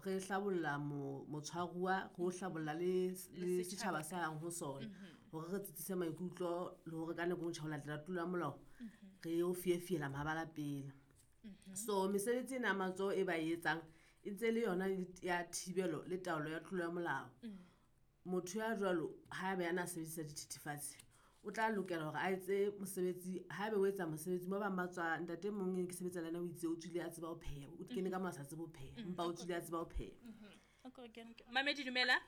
Re hlabolla motshwaruwa, re o hlabolla le setjhaba sa yang ho sona, hore re tsitsise maikutlo le hore ka nako e tjha ho latela tlolo ya molao, re o fiefiela mabala pele. So mesebetsi ena ya matsoho e ba e etsang e ntse le yona ya thibelo le taolo ya tlolo ya molao. Motho ya jwalo haebe a na sebedisa dithethefatsi, o tla lokela hore a etse mosebetsi. Haebe o etsa mosebetsi, ba bang ba tswa, ntate e mong e ne ke sebetsa le yena o itse o tswile a tseba ho pheha, o kene ka mo a sa tsebe ho pheha, empa o tswile a tseba ho pheha. Mamedi, dumela.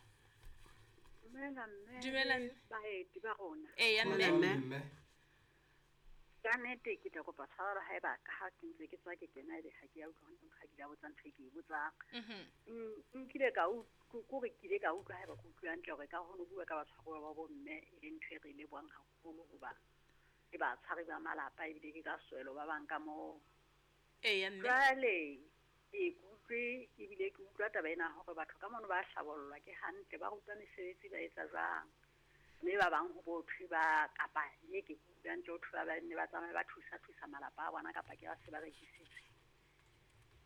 Dumela mme. Dumela. Baeti ba rona. Eya mme. Mme. Ka nnete ke tla kopa tshwarelo haeba ka ha ke ntse ke tswa ke kena ebe ha ke ya utlwa hantle ha ke la botsa ntho e ke e botsang. Nkile ka kore ke ile ka utlwa haeba ke utlwe hantle hore ka ho no bua ka batshwaruwa ba bomme e leng ntho e re e lebohang haholo hoba ke batshwari ba malapa ebile ke ka swelo ba bang ka moo. Eya mme. Jwale ke utlwe ebile ke utlwa taba ena hore batho ka mono ba hlabollwa ke hantle, ba rutwa mesebetsi ba etsa jwang. Mme ba bang ho bo thwe ba kapa ye ke utlwa hantle ho thwe ba nne ba tsamaye ba thusa malapa a bona kapa ke ba se ba rekisitse.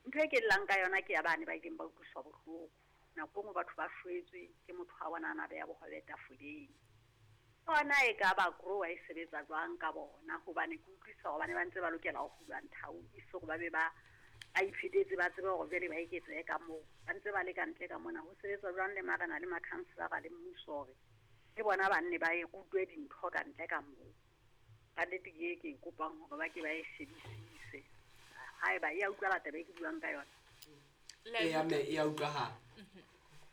Ntho e ke llang ka yona ke ya bane ba ileng ba utlwiswa bohloko. Nako e nngwe batho ba shwetswe ke motho wa bona a na beha bohobe tafoleng. Hona e ka ba grower e sebetsa jwang ka bona, hobane ke utlwisa hore bane ba ntse ba lokela ho hulwa nthau e se hore ba be ba iphetetse ba tsebe hore jwale ba eketsehe ka moo. Ba ntse ba le ka ntle ka mona. Ho sebetsa jwang le marena le makhanselara le mmuso hore le bona ba nne ba e rutwe dintho ka ntle ka moo. Ka nnete ke e ke e kopang hore ba ke ba e shebisise. Haeba e a utlwala taba e ke buang ka yona. Eya mme, e a utlwahala.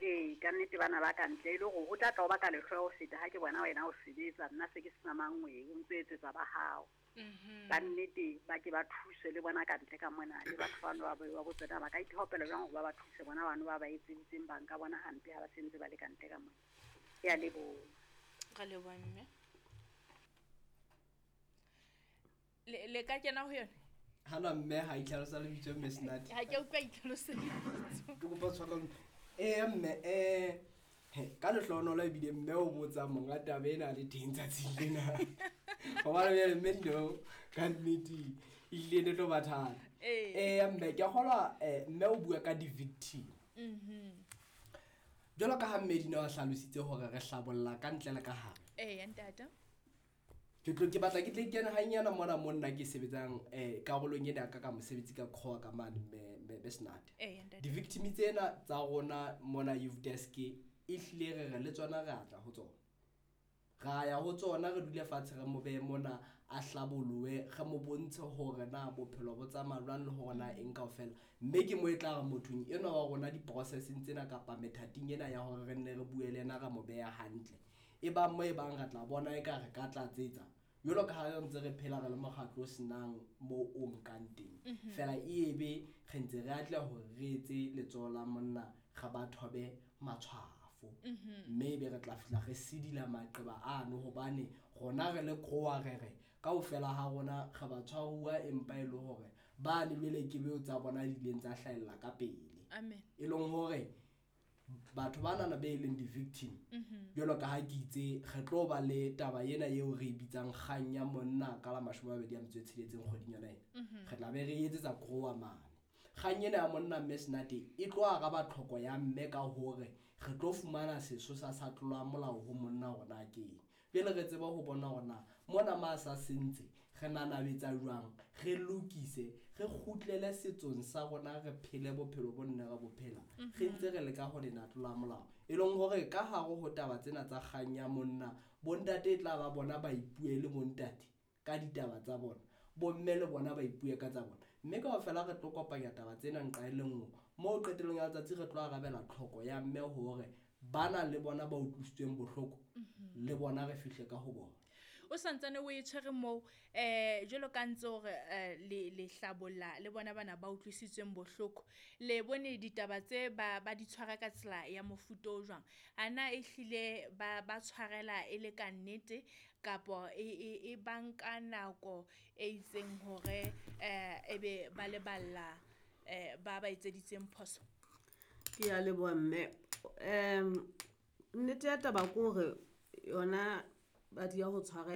Ee, ka nnete bana ba ka ntle e le hore ho tla tla o baka lehloyo ho feta ha ke bona wena o sebetsa, nna se ke sena mangweng, o ntso etsetsa ba hao. Ka nnete ba ke ba thuswe le bona ka ntle ka mona, le batho bano ba ba botse na ba ka ithaopela jwang hore ba ba thuse bona bano ba ba etseditseng bang ka bona hampe ha ba se ntse ba le ka ntle ka mona. Ke a leboha. Re leboha mme. Le ka kena ho yona? Hana mme ha itlhalosa lebitso mme Snati. Ha ke utlwa itlhalosa lebitso. Ke kopa tshwarelo. Mme ka lehlohonolo ebile mme o botsa monga taba ena le teng tsatsing lena. Hobane jwale mme no ka nnete ehlile ne tlo ba thata. Mme ke a kgolwa mme o bua ka di-victim. Jwalo ka ha mme Dina a hlalositse hore re hlabolla ka ntle le ka hare. Eya ntate. Ke tlo ke batla ke tle ke kene hanyana mona mo nna ke sebetsang karolong ena ka mosebetsi ka Krowa ka mane mme Snati. Eya ntate. Di-victim tsena tsa rona mona youth desk e hlile re re le tsona re atla ho tsona. Ra ya ho tsona re dule fatshe re mo behe mona a hlabolohe, re mo bontshe hore na bophelo bo tsamaya jwang le hore na eng kaofela. Mme ke mo e tla re mothong enwa wa rona di-processing tsena kapa methating ena ya hore re nne re bue le yena re mo beha hantle. E bang mo e bang re tla bona eka re ka tlatsetsa. Jwalo ka ha re ntse re phela re le mokgatlo o senang mo o nkang teng. Feela e ebe re ntse re atleha hore re etse letsoho la monna re ba thobe matshwafo. Mme ebe re tla fihla re sidila maqeba ano hobane rona re le Krowa re re kaofela ha rona re ba tshwaruwa empa e le hore ba ne jwale ke beo tsa bona di ileng tsa hlahella ka pele. Amen. E leng hore batho bana be leng di-victim, jwalo ka ha ke itse re tlo ba le taba ena eo re e bitsang kgang ya monna ka la 26 kgweding yona ena. Re tla be re etsetsa Krowa mane. Kgang ena ya monna mme Snati e tlo araba tlhoko ya mme ka hore re tlo fumana sesosa sa tlolo ya molao ho monna hore na ke eng. Pele re tseba ho bona hore na mona ma sa sentse re nanabetsa jwang, re lokise, re kgutlele setsong sa rona, re phele bophelo bo nne re bo phela. Re ntse re leka ho lena tlolo ya molao. E leng hore ka hare ho taba tsena tsa kgang ya monna, bontate e tla ba bona ba ipue le bontate ka ditaba tsa bona, bomme le bona ba ipue ka tsa bona. Mme kaofela re tlo kopanya taba tsena nqa e le nngwe. Moo qetellong ya letsatsi re tlo arabela tlhoko ya mme hore bana le bona ba utlwisitsweng bohloko, le bona re fihle ka ho bona. O santsane o e tshwere moo, jwalo ka ntse hore le hlabolla le bona bana ba utlwisitsweng bohloko. Le bone ditaba tse ba di tshwara ka tsela ya mofuta o jwang? Ana e hlile ba tshwarela e le ka nnete kapo e banka nako e itseng hore ebe ba leballa ba etseditseng phoso? Ke a leboha mme. Nnete ya taba ke hore yona ba di ya ho tshwara